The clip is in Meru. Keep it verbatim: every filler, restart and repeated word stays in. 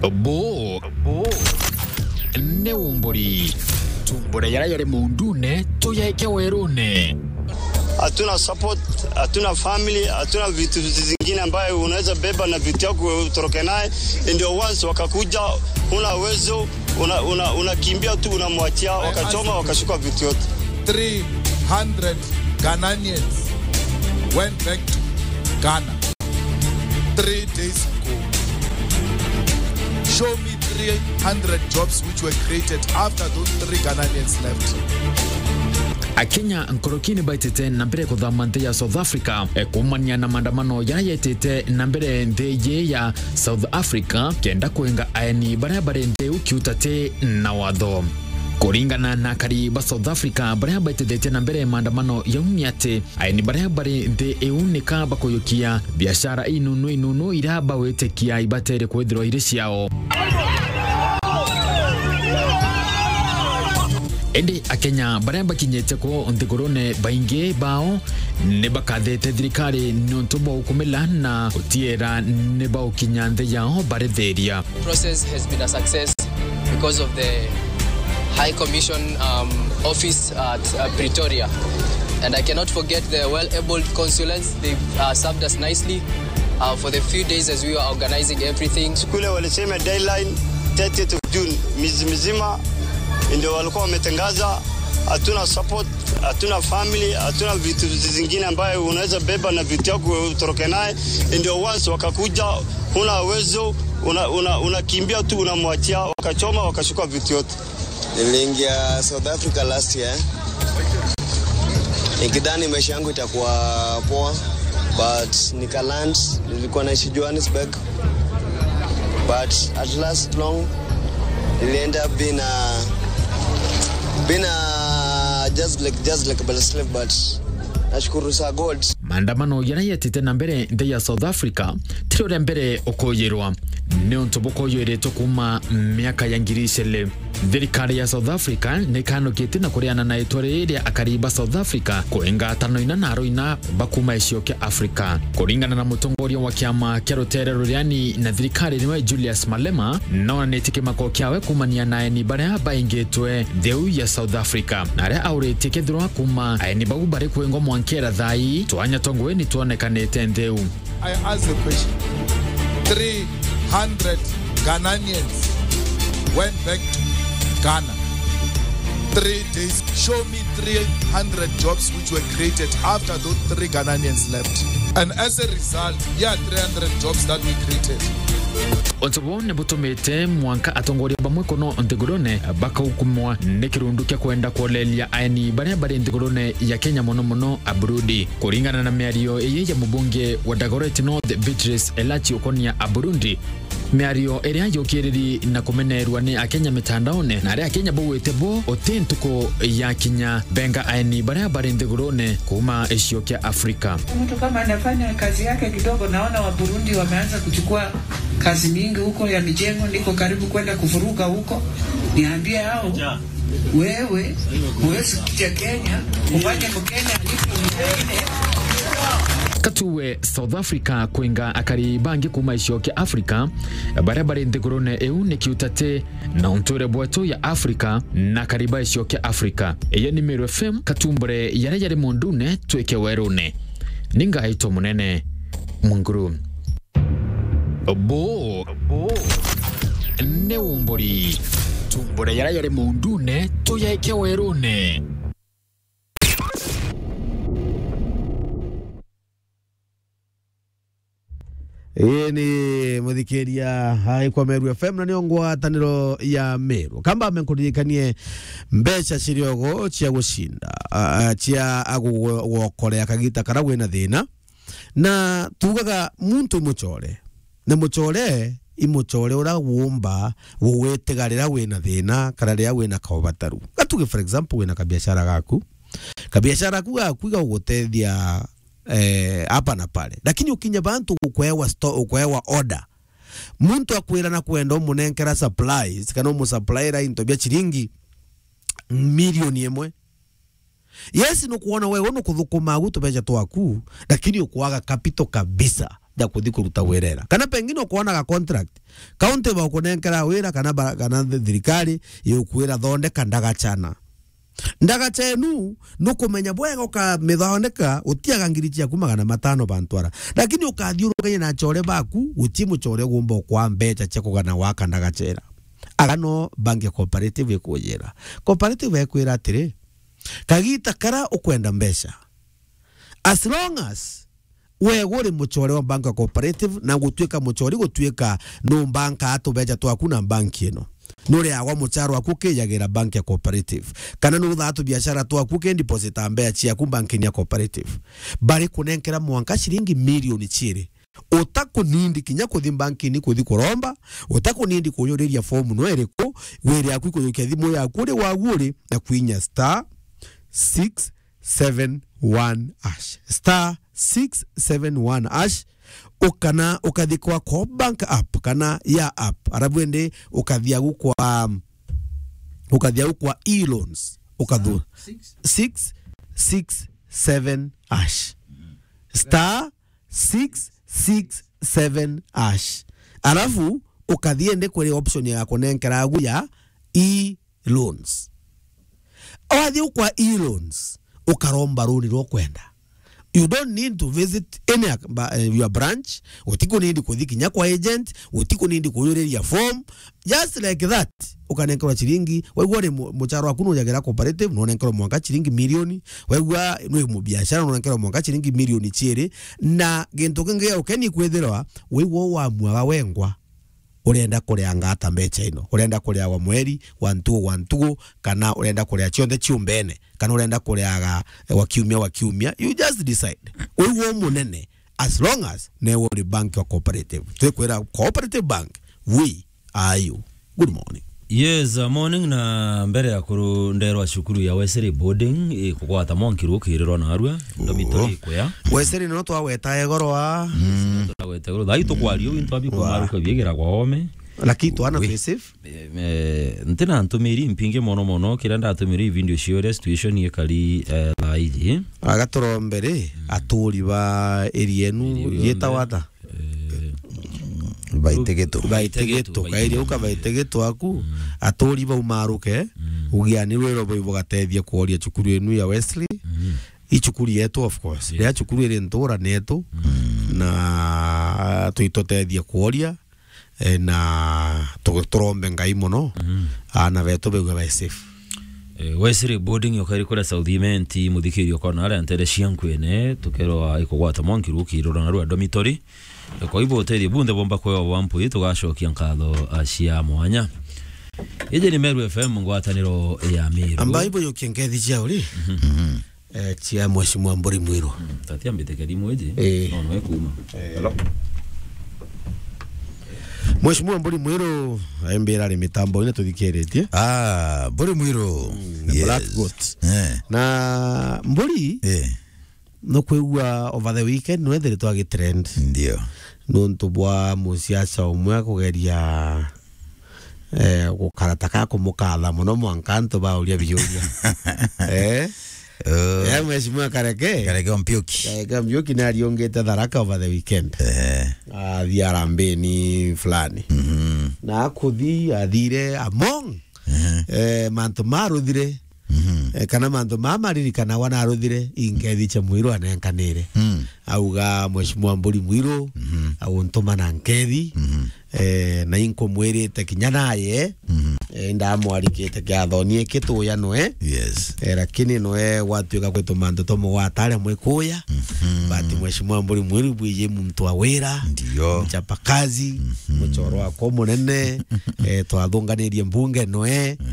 Bo, bo, ni umburi. Tumbure yara yari mundune, tuyaike werune. Hatuna support, hatuna family, hatuna vitu zingine ambayo unaweza beba na vitu yako utoroke naye. Ndio once wakakuja, huna uwezo, una, una, unakimbia tu, unamwachia, wakachoma, wakachukua vitu yote. Three hundred Ghanaians went back to Ghana three days ago. Show me three hundred jobs which were created after those three Ghanaians left. Akenya nkorokini baitite na mbere kuthama nthi ya South Africa, e, kumania na maandamano yara yetite na mbere nthi yi ya South Africa, kenda kwenga aeni baria bari nthi iu kiutati na watho. Kuringana na akari ba South Africa baria baitithitie na mbere maandamano yau ni ati, aeni baria bari nthi iu nika bakuyukia biashara inunu inunu iria bawitikia ibatere kwithirwa iri ciao. Indi Akenya baria bakinyite ku nthigurune, baingi bao ni bakathite thirikari niuntu bwa ukumila na gutiira ni baukinya nthi yao barithiria. Process has been a success because of the High Commission, um, office at, uh, Pretoria. And I cannot forget the well-abled consulants. They've, uh, served us nicely, uh, for the few days as we were organizing everything. Siku ile walisema deadline thirtieth of June, miezi mizima ndio walikuwa wametangaza. Hatuna support, hatuna family, hatuna vitu zingine ambayo unaweza beba na vitu yako utoroke naye. Ndio once wakakuja, huna uwezo, una, una, unakimbia tu, unamwachia, wakachoma, wakachukua vitu yote. Niliingia South Africa last year nikidhani maisha yangu itakuwa poa, but nikaland, nilikuwa naishi Johannesburg, but at last long nili end up being a, being a, just like, just like a slave, but nashukuru sa God. Maandamano jaria jetite na mbere nthi ya South Africa tiri uria mbere ukuyirwa, niuntu bukuywiritwe kuuma miaka ya ngiri iciri. Thirikari ya South Africa nikanukitie na kuriana na itwa riri ria akari ba South Africa kuinga atano ina na aruina ba kuuma gicigo kia Africa. Kuringana na mutongoria wa kiama kia rutere ruriani na thirikari niwe Julius Malema, nonanitie kimako kiawe kuumania na aeni baria baingitwe nthi iu ya South Africa, na aria auritie kethirwa kuuma aeni bau bari kwingwa mwankera thaa ii, twanya twa ngugi ni twonekanite nthi iu. I ask the question. Three hundred Ghanaians went back to Ghana. Three days. Show me three hundred jobs which were created after those three Ghanaians left. And as a result, yeah, three hundred jobs that we created. Untu buu ni butumite mwanka atongoria bamwe kuno nthigurune bakaukumwa ni kirundu kia kwenda kwoleria aeni baria bari nthigurune ya Kenya, mono mono a Burundi. Kuringana na miario iyi ya mubunge wa Dagoretti North, Beatrice Elachi, ukonia a Burundi, miario iria yukiriri na kumenerwa ni Akenya mitandaone, na aria Akenya baugite bo uti ntuku ya kinya benga aeni baria bari nthigurune kuuma gicigo kia Afrika. Mtu kama anafanya kazi yake kidogo, naona wa Burundi wameanza kuchukua kazi mingi huko ya mijengo, niko karibu kwenda kuvuruga huko. Niambie hao, wewe huwezi kuja Kenya, ufanye Mkenya alipo mjini. Katuwe South Africa kwinga akari bangi kuuma gicigo kia Afrika baria bari nthigurune iu ni kiutati na unture bwetu ya Afrika na akari ba gicigo kia Afrika. Iyo ni Meru F M, katumbure yaria yari mundune twike werune. Ni ngaitwa munene Munguru. Bo, bo, ni umburi. Tumbure yaria yari mundune tuyaike werune. Ii ni muthikiria aikwa Meru F M na nio ngwataniro ya Meru. Kamba amenkuririkanie mbeca ciriogo cia gucinda, a, a, cia agugokorea kagita kara wina thina. Na tugaga muntu imucore. Na mucore, imucore ura wumba gugwitiga riria wina thina kana riria wina kaubataru. Gatuge, for example, wina kabiashara gaku. Kabiashara gaku gaku igagutethia, eh, hapa na pale. Lakini ukinya bantu ukwewa sto-, ukwewa order. Muntu akwira na kwenda umunenkera supplies kana umusuppliera into bia chiringi milioni imwe. Yes, nukwona wewe nukuthukuma agu tubeca twaku, lakini ukwaga capital kabisa. nda kuthi kuruta wira era. Kana pengine ukoona ga contract. County bagukunenkera wira kana ba-, kana thi-, thirikari igukwira thondeka ndagachana. Ndagacha enu, nukumenya bwega ukamithondeka, utiaga ngiri ciaku magana matano bantu ara. Lakini ukathiurukania na achore baku, guti muchore ugumba ukwa mbecha cia kugana waka ndagacha era. Aga no bank ya cooperative ikujira. Cooperative ekwira atiri, kagita kara ukwenda mbecha. As long as we uri muchore wa bank ya cooperative na gutuika muchori gutuika nu banka atubecha twaku na bank ino. Nuriagwa mucharo waku ukijagira bank ya cooperative. Kana nuruthaa tubiashara twaku ukideposita mbecha ciaku bank-ini ya cooperative. Bari kunenkera mwanka ciringi milioni ciiri. Utakunindi kinya kuthi bank-ini kuthi kuromba, utakunindi kuyuriria form no iriku, wiri yaku ikujukia thimu yaku uri wagu uri na kwinya star six seven one hash. Star six seven one hash. Ukana ukathi kwa Coop Bank app kana ya app. Arabu ende ukathi agu kwa, ukathi agu kwa e-loans. Ukathu six six seven hash. Star six six seven hash. Alafu, ukathi ende kuri option ya kunenkera agu ya e-loans. Wathi kwa e-loans, ukaromba runi rwa kwenda. You don't need to visit any ac-, ba-, eh, your branch. Utikunindi kuthi kinya kwa agent, utikunindi kuyuriria form. Just like that, ukanenkerwa chiringi. Waigua ri mu-, mucharo waku nujagira cooperative, nonenkerwa mwanka chiringi milioni. Waigua nwi mubiashara, nonenkerwa mwanka chiringi milioni chiiri. Na gintu kingi gia ukeni kwithirwa, waigua wamwaga wengwa. Urenda kuria ngata mbecha ino, urenda kuria wa mweri, wa ntugu, wa ntugu, kana urenda kuria cionthe ciumbene, kana urenda kuriaga, eh, wa kiumia, wa kiumia, you just decide. Uigwe umunene, as long as newe uri bank wa cooperative. Twikwira cooperative bank, we are you. Good morning. Yes, uh, morning, na mbere ya kuru nderwa cukuru ya Wesley Boarding, eh, kugwata mwanki rukirirwa narua, ndomitoro ikuya. Wesley no twagweta egoro wa. Twagweta egoro. Thai tukwaria, wintu abi kumaruka biegira kwa ome. Lakini twana twi safe. Eh, eh, ntina ntumiri mpingi mono mono, kiria ndatumiri video cio uria situation ikari, eh, thaa iji. Agaturombere, aturi ba area enu, yeta wata? Eh, Baitegeto. Baitegeto. Kairi uka Baitegeto aku, aturi bau maruke, ugiani rwiro bau bugatethia kuoria cukuru enu ya Wesley. I cukuru yetu, of course. Yes. Ria cukuru iri ntura netu, na tuitutethia kuoria, eh, na tu-, turombe Ngai mono, aana betu begue be safe. Eh, Wesley Boarding yokairi kuria South Imenti, muthikirio kona aria ntere cia Nkwene, tukerwa ikugwata mwanki rukirura narua dormitory. Kwa hivyo, utethio bunthe bomba kwewa bwa mpwi, tugacokia nkatho, a, cia mwanya. Iji ni Meru F M, ngwataniro ya Meru. Amba ibo yokia nkethi cia uri. Eh, cia Mheshimiwa Mburi Mwiru. Mm, tati ambite kerimu iji. Eh. No, no, ekuma. Hello. Mheshimiwa Mburi Mwiru, aimbira ari mitambo ina tuthikiritie. Ah, Mburi Mwiru. Mm, the Black Goat. Eh. Na Mburi, eh. Nukwigua over the weekend nwethiritwe agitrend. Ndio. Nuntu bwa musiasa umwe kugeria, eh, gukara ta ka kumukatha mono mwanka antu bauria biuria. Eh? Oh. Eh, Mheshimiwa Kareke. Kareke Mpiuki. Kareke Mpiuki ni ariungite Tharaka over the weekend. Eh. Athi arambini fulani. Mhm. Na akuthi, athire among, eh, mantu maruthire. Mhm. Eh, kana mantu maa maririkanagwa naruthire, inkethi cia Mwiru anenkanire. Mm. Auga, Mheshimiwa Mburi Mwiru, mhm, auntuma na nkethi, mhm, eh, na inkumwirite kinya naye, mhm, eh, ndamwarikite kiathoni iki tuya noe. Yes. Eh, lakini noe gwatuika kwitu mantu tumugwata aria mwikuya. Mhm. But Mheshimiwa Mburi Mwiru bwiji muntu wa wira, ndio, mchapa kazi, mhm, muchoro wakwa munene, eh, twathunganirie mbunge noe. Mhm.